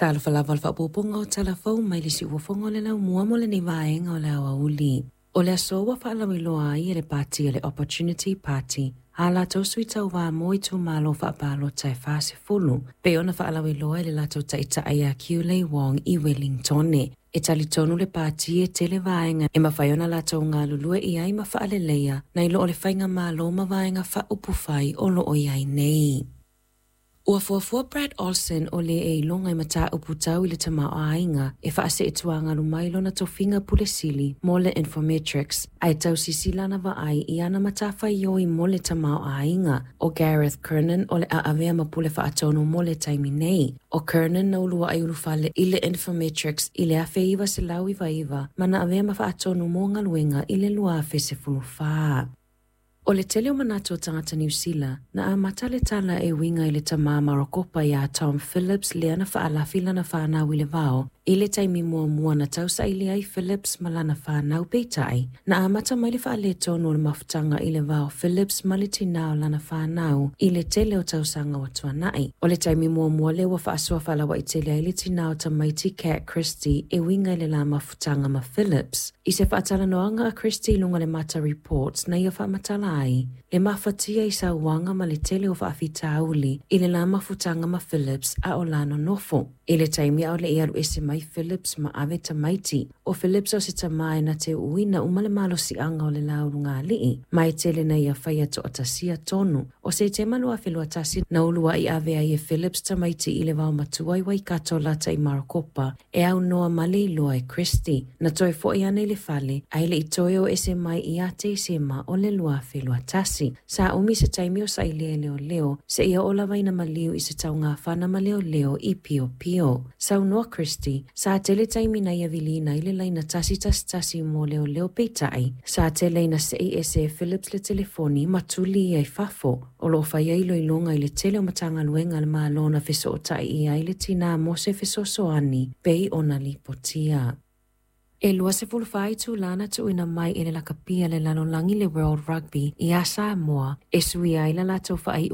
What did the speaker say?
Talofa lava o le faaopoopoga o tala fou mai le Siuofoga o le Laumua mo lenei vaega o le aoauli. O le aso ua faalauiloa ai e le pati a le Opportunity Party a latou sui tauva mo itumalo faapalota e 40, pei ona faalauiloa e le latou taitai ia Kiulei Wong i Wellingtone. E talitonu le pati e tele vaega e mafai ona latou galulue i ai ma faaleleia nai lo o le faigamalo ma vaega faaupufai o lo o i ai nei. Ua fuafua Brad Olsen o le e iloga i mataupu tau i le tamaoaiga e faaseetuagalu mai lona tofiga pule sili mo le Infometrics, ae tausisi lana vaai i ana matafaioi mo le tamaoaiga. O Gareth Kernan o le a avea ma pule faatonu mo le taimi nei. O Kernan na uluai ulufale i le Infometrics i le 1999 ma na avea ma faatonu mo galuega i le 2014. O le tele o manatu o tagata Niu Sila, na amata le tala e uiga i le tamā Marokopa iā Tom Phillips lea na faalafi lana fanau i le vao i le taimi muamua na tausaili ai Phillips ma lana fanau. Peitai, na amata mai le faaletonu o le mafutaga i le va o Phillips ma le tinā o lana fanau i le tele o tausaga ua tuanai. O le taimi muamua lea ua faasoa faalauaitele ai le tinā o tamaiti Kat Christie e uiga i le la mafutaga ma Phillips. I se faatalanoaga a Christie i luga o le Mata Reports na ia faamatala ai le mafatia i sauaga ma le tele o faafitauli i le la mafutaga ma Phillips a o la nonofo. I le taimi a o le i alu ese mai Phillips ma ave tamaiti, o Phillips o se tamā e na te uuina uma le malosiaga o le laulugalii, ma e tele na ia faia toatasia tonu. O Setema 2021 na uluai ave ai e Phillips tamaiti i le vaomatua i Waikato lata i Marokopa e aunoa ma le iloa e Christie. Na toe foi ana i le fale, ae le i toe o ese mai ia Tesema o le 2021. Sa umi se taimi o sailia e leoleo, seia oo lava ina maliu i se taugafana ma leoleo i Piopio. Saunoa Christie, sa tele taimi na ia viliina ai le laina 111 mo leoleo peitai, sa tele ina sei ese e Phillips le telefoni ma tuli ia i fafo. O lo o faia iloiloga i le tele o Matagaluega a le Malo na fesootai i ai le tinā mo se fesoasoani pei ona lipotia. E 24 itulā na tuuina mai e le lakapi a le lalolagi le World Rugby iā Samoa e suia ai la latou faaiuga.